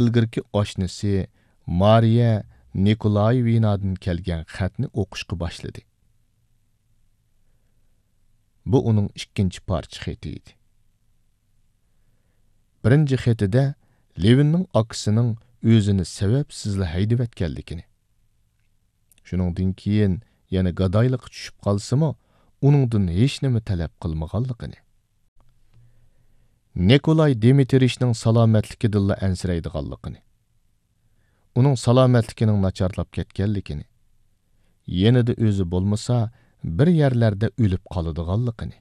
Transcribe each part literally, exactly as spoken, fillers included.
ئىلگىرىكى ئاشنىسى مارىيە نىكولايېۋنادىن كەلگەن خەتنى ئوقۇشقا باشلىدى. بۇ ئۇنىڭ ئىككىنچى پارچە خېتى ئىدى. بىرىنچى خېتىدە لېۋىننىڭ ئاكىسىنىڭ ئۆزىنى سەۋەبسىزلا ھەيدىۋەتكەنلىكىنى، شۇنىڭدىن كېيىن يەنە گادايلىققا چۈشۈپ قالسىمۇ، ئۇنىڭدىن ھېچنېمە تەلەپ قىلمىغانلىقىنى، نىكولاي دىمىترىچنىڭ سالامەتلىكىدىنلا ئەنسىرەيدىغانلىقىنى، ئۇنىڭ سالامەتلىكىنىڭ ناچارلاپ كەتكەنلىكىنى، يېنىدا ئۆزى بولمىسا، بىر يەرلەردە ئۆلۈپ قالىدىغانلىقىنى،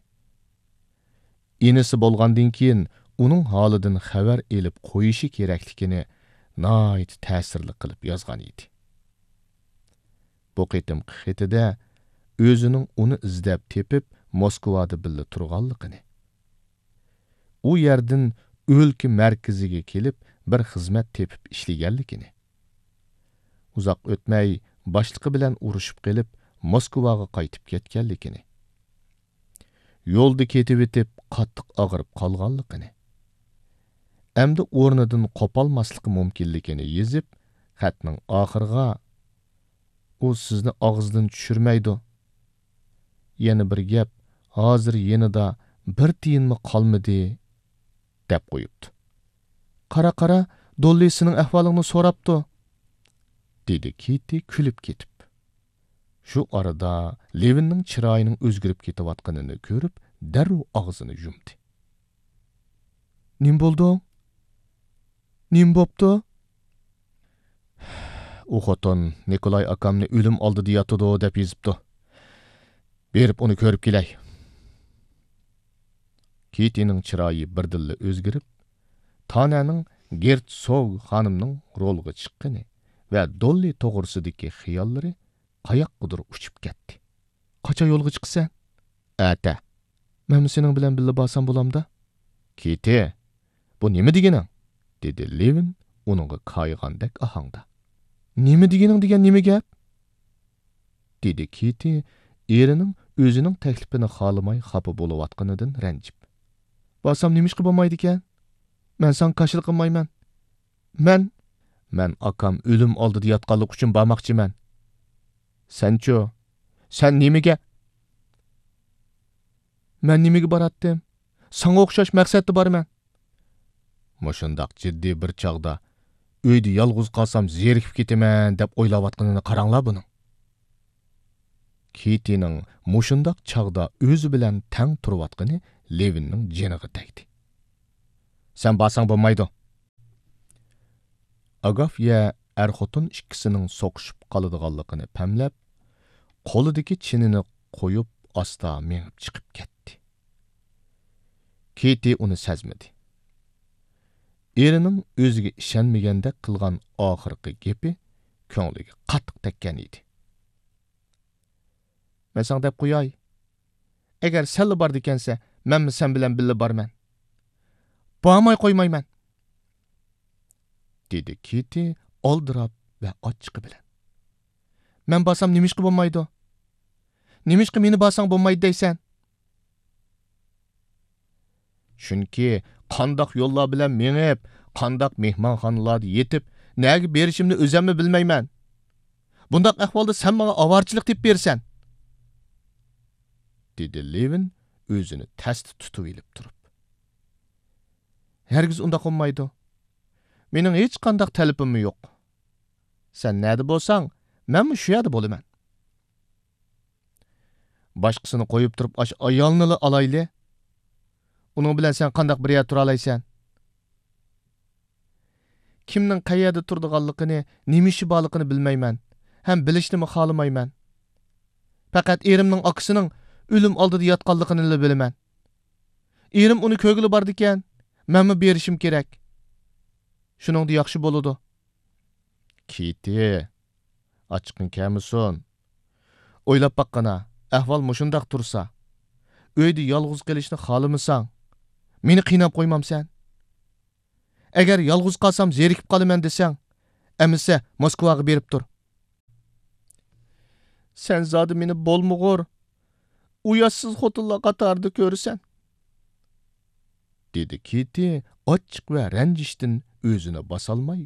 ئىنىسى بولغاندىن كېيىن ئۇنىڭ ھالىدىن خەۋەر ئېلىپ قويۇشى كېرەكلىكىنى ناھايىتى تەسىرلىك قىلىپ يازغان ئىدى. بۇ قېتىمقى خېتىدە ئۆزىنىڭ ئۇنى ئىزدەپ تېپىپ، موسكۋادا بىللە تۇرغانلىقىنى، ئۇ يەردىن ئۆلكە مەركىزىگە كېلىپ، بىر خىزمەت تېپىپ ئىشلىگەنلىكىنى، ئۇزاق ئۆتمەي باشلىقى بىلەن ئۇرۇشۇپ قېلىپ، موسكۋاغا قايتىپ كەتكەنلىكىنى، يولدا كېتىۋېتىپ قاتتىق ئاغرىپ قالغانلىقىنى، ئەمدى ئورنىدىن قوپالماسلىقى مۇمكىنلىكىنى يېزىپ، خەتنىڭ ئاخىرىغا، «ئۇ سىزنى ئاغزىدىن چۈشۈرمەيدۇ. يەنە بىر گەپ، ھازىر يېنىدا بىر تىيىنمۇ قالمىدى» دەپ قويۇپتۇ. «قارا، قارا، دوللى سېنىڭ ئەھۋالىڭنى سوراپتۇ» دېدى كىتى كۈلۈپ كېتىپ. شۇ ئارىدا لېۋىننىڭ چىرايىنىڭ ئۆزگىرىپ كېتىۋاتقىنىنى كۆرۈپ، دەررۇ ئاغزىنى يۇمدى. «نېمە بولدۇڭ؟ نېمە بوپتۇ؟» «ئۇ خوتۇن نىكولاي ئاكامنى ئۆلۈم ئالدىدا ياتىدۇ دەپ يېزىپتۇ. بېرىپ ئۇنى كۆرۈپ كېلەي.» كىتىنىڭ چىرايى بىردىنلا ئۆزگىرىپ، تانەنىڭ گېرتسوگ خانىمنىڭ رولغا چىققىنى ۋە دوللى توغرىسىدىكى خىياللىرى قاياققىدۇر ئۇچۇپ كەتتى. «قاچان يولغا چىقىسەن؟» «ئەتە.» «مەنمۇ سېنىڭ بىلەن بىللە بارسام بولامدا؟» «كىتى، بۇ نېمە دېگىنىڭ؟» دېدى لېۋىن ئۇنىڭغا كايىغاندەك ئاھاڭدا. «نېمە دېگىنىڭ دېگەن نېمە گەپ؟» دېدى كىتى ئېرىنىڭ ئۆزىنىڭ تەكلىپىنى خالىماي خاپا بولۇۋاتقىنىدىن رەنجىپ. «بارسام نېمىشقا بولمايدىكەن؟ مەن ساڭا كاشىلا قىلمايمەن. مەن، مەن ئاكام ئۆلۈم ئالدىدا ياتقانلىقى ئۈچۈن بارماقچىمەن.» «سەنچۇ؟ سەن نېمىگە؟» «مەن نېمىگە باراتتىم؟ ساڭا ئوخشاش مەقسەتتە بارىمەن.» مۇشۇنداق جىددىي بىر چاغدا «ئۆيدە يالغۇز قالسام زېرىكىپ كېتىمەن» دەپ ئويلاۋاتقىنىنى قاراڭلار بۇنىڭ. كىتىنىڭ مۇشۇنداق چاغدا ئۆزى بىلەن تەڭ تۇرۇۋاتقىنى لېۋىننىڭ جېنىغا تەگدى. «سەن بارساڭ بولمايدۇ.» ئاگافيە ئەر-خوتۇن ئىككىسىنىڭ سوقۇشۇپ قالىدىغانلىقىنى پەملەپ، قولىدىكى چىنىنى قويۇپ، ئاستا مېڭىپ چىقىپ كەتتى. كىتى ئۇنى سەزمىدى. ئېرىنىڭ ئۆزىگە ئىشەنمىگەندەك قىلغان ئاخىرقى گېپى كۆڭلىگە قاتتىق تەگكەن ئىدى. «مەن ساڭا دەپ قوياي، ئەگەر سەنلا بارىدىكەنسە، مەنمۇ سەن بىلەن بىللە بارىمەن. بارماي قويمايمەن.» دېدى كىتى ئالدىراپ ۋە ئاچچىقى بىلەن. «مەن بارسام نېمىشقا بولمايدۇ؟ نېمىشقا مېنى بارساڭ بولمايدۇ دەيسەن؟» «چۈنكى قانداق يوللار بىلەن مېڭىپ، قانداق مېھمانخانىلاردا يېتىپ، نەگە بېرىشىمنى ئۆزەممۇ بىلمەيمەن. بۇنداق ئەھۋالدا سەن ماڭا ئاۋارىچىلىق تېپىپ بېرىسەن.» دېدى لېۋىن ئۆزىنى تەستە تۇتۇۋېلىپ تۇرۇپ. «ھەرگىز ئۇنداق بولمايدۇ. مېنىڭ ھېچقانداق تەلىپىممۇ يوق. سەن نەدە بولساڭ، مەنمۇ شۇ يەردە بولىمەن.» «باشقىسىنى قويۇپ تۇرۇپ ئاشۇ ئايالنىلا ئالايلى. ئۇنىڭ بىلەن سەن قانداق بىر يەردە تۇرالايسەن؟» «كىمنىڭ قەيەردە تۇرىدىغانلىقىنى، نېمە ئىشى بارلىقىنى بىلمەيمەن ھەم بىلىشنىمۇ خالىمايمەن. پەقەت ئېرىمنىڭ ئاكىسىنىڭ ئۆلۈم ئالدىدا ياتقانلىقىنىلا بىلىمەن. ئېرىم ئۇنى كۆرگىلى بارىدىكەن، مەنمۇ بېرىشىم كېرەك. شۇنىڭدا ياخشى بولىدۇ.» «كىتى، ئاچچىقىڭ كەلمىسۇن. ئويلاپ باققىنا، ئەھۋال مۇشۇنداق تۇرسا، ئۆيدە يالغۇز قېلىشنى خالىمىساڭ، مېنى قىيناپ قويمامسەن؟ ئەگەر يالغۇز قالسام زېرىكىپ قالىمەن دېسەڭ، ئەمىسە موسكۋاغا بېرىپ تۇر.» «سەن زادى مېنى بولمىغۇر، ئۇياشسىز خوتۇنلار قاتارىدا كۆرىسەن.» دېدى كىتى ئاچچىق ۋە رەنجىشتىن ئۆزىنى باسالماي